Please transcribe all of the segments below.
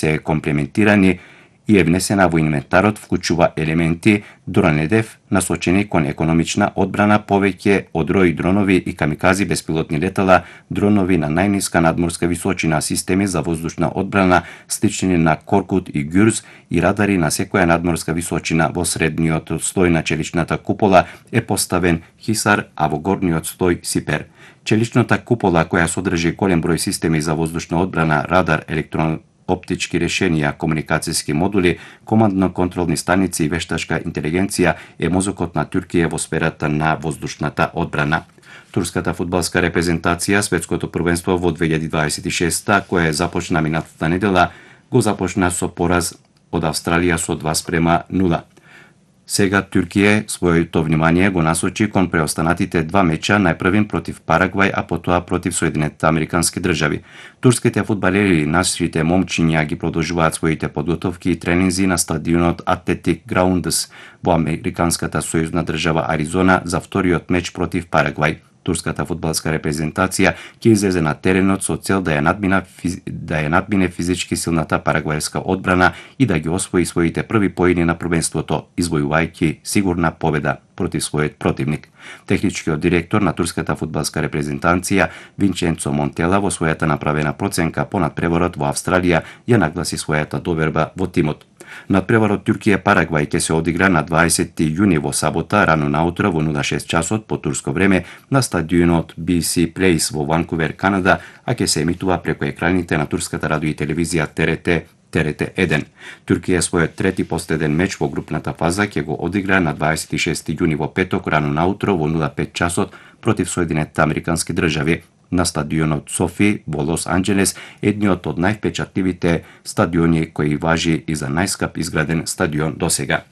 се комплементирани и е внесена во инвентарот, вклучува елементи дронедев насочени кон економична одбрана, повеќе од рој дронови и камикази беспилотни летала, дронови на најниска надморска височина, системи за воздушна одбрана слични на Коркут и Гюрз и радари на секоја надморска височина. Во средниот слој на челичната купола е поставен Хисар, а во горниот слој Сипер. Челичната купола, која содржи голем број системи за воздушна одбрана, радар, оптички решенија, комуникацијски модули, командно-контролни станици и вештачка интелигенција е мозокот на Туркија во сферата на воздушната одбрана. Турската фудбалска репрезентација светското првенство во 2026, кое започна минатата недела, го започна со пораз од Австралија со 2:0. Сега Туркија своето внимание го насочи кон преостанатите два меча, најпрвин против Парагвај, а потоа против Соединетите Американски држави. Турските фудбалери, нашите момчиња ги продолжуваат своите подготовки и тренинзи на стадионот Athletic Grounds во американската сојузна држава Аризона за вториот меч против Парагвај. Турската фудбалска репрезентација ќе излезе на теренот со цел да ја надмине физички силната парагвајска одбрана и да ги освои своите први поени на првенството, извојувајќи сигурна победа против својот противник. Техничкиот директор на турската фудбалска репрезентација Винченцо Монтела во својата направена проценка по надпреварот во Австралија ја нагласи својата доверба во тимот. Надпреварот Туркија-Парагвај ќе се одигра на 20 јуни во сабота рано наутро во 06 часот по турско време на стадионот BC Place во Ванкувер, Канада, а ќе се емитува преку екраните на турската радио и телевизија ТРТ-1. Туркија својот трети последен меч во групната фаза ќе го одигра на 26 јуни во петок рано наутро во 05 часот против Соединетите Американски држави на стадионот Софи во Лос Анџелес, едниот од највпечатливите стадиони кои важи и за најскап изграден стадион досега.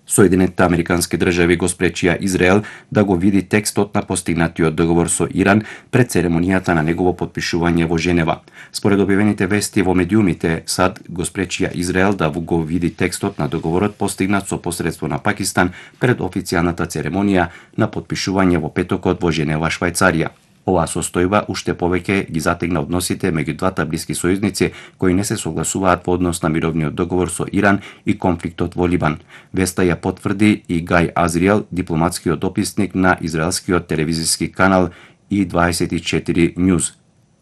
Соединетите Американски држави го спречија Израел да го види текстот на постигнатиот договор со Иран пред церемонијата на негово потпишување во Женева. Според објавените вести во медиумите, САД го спречија Израел да го види текстот на договорот постигнат со посредство на Пакистан пред официјалната церемонија на потпишување во петокот во Женева, Швајцарија. Оваа состојба уште повеќе ги затегна односите меѓу двата блиски сојузници кои не се согласуваат во однос на мировниот договор со Иран и конфликтот во Либан. Веста ја потврди и Гај Азриел, дипломатскиот дописник на израелскиот телевизиски канал И24 News.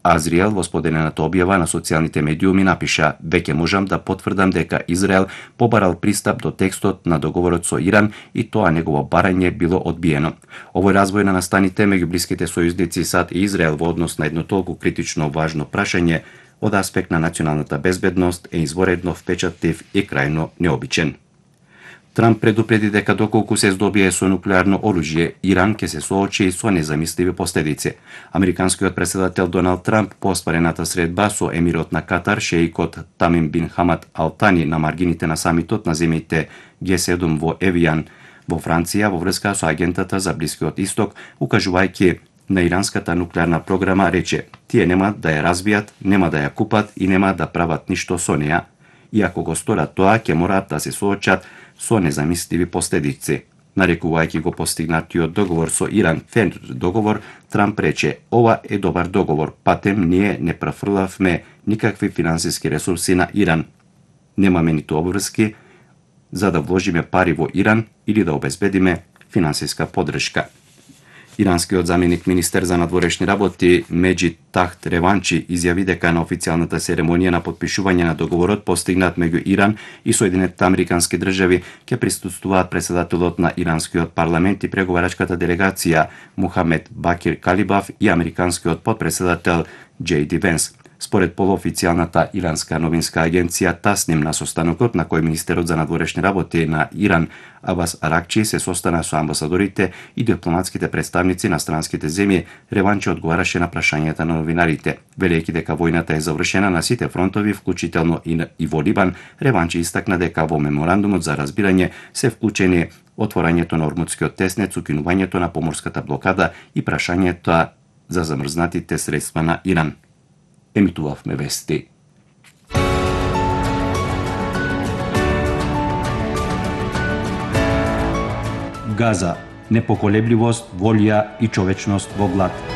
Азриел во споделената објава на социјалните медиуми напиша: "Веќе можам да потврдам дека Израел побарал пристап до текстот на договорот со Иран и тоа негово барање било одбиено." Овој развој на настаните меѓу блиските сојузници САД и Израел во однос на едно толку критично важно прашање од аспект на националната безбедност е изворедно впечатлив и крајно необичен. Трамп предупреди дека доколку се здобие со нуклеарно оружје, Иран ќе се соочи со незамисливи последици. Американскиот претседател Доналд Трамп по оспарената средба со емирот на Катар, шеикот Тамим бин Хамад Ал Тани на маргините на самитот на земјите Г7 во Евијан во Франција во врска со агентата за Блискиот Исток, укажувајќи на иранската нуклеарна програма, рече: "Тие нема да ја развијат, нема да ја купат и нема да прават ништо со неа. И ако го сторат тоа, ќе мораат да се соочат со незамисливи последици." Нарекувајќи го постигнатиот договор со Иран фер договор, Трамп рече: "Ова е добар договор, патем ние не префрлавме никакви финансиски ресурси на Иран. Немаме ниту обврски за да вложиме пари во Иран или да обезбедиме финансиска поддршка." Иранскиот заменик министер за надворешни работи Меджид Тахт Реванчи изјави дека на официјалната церемонија на потпишување на договорот постигнат меѓу Иран и Соединетите Американски држави ќе присуствуваат претседателот на иранскиот парламент и преговарачката делегација Мухамед Бакир Калибаф и американскиот потпредседател Џеј Ди Венс. Според полуофицијалната иранска новинска агенција Тасним, на состанокот на кој министерот за надворешни работи на Иран Абас Аракчи се состана со амбасадорите и дипломатските представници на странските земји, Реванчи одговараше на прашањата на новинарите. Велејќи дека војната е завршена на сите фронтови, вклучително и во Либан, Реванчи истакна дека во меморандумот за разбирање се вклучени отворањето на Ормудскиот теснец, укинувањето на поморската блокада и прашањето за замрзнатите средства на Иран. Емитувавме вести. Газа, непоколебливост, волја и човечност во глад.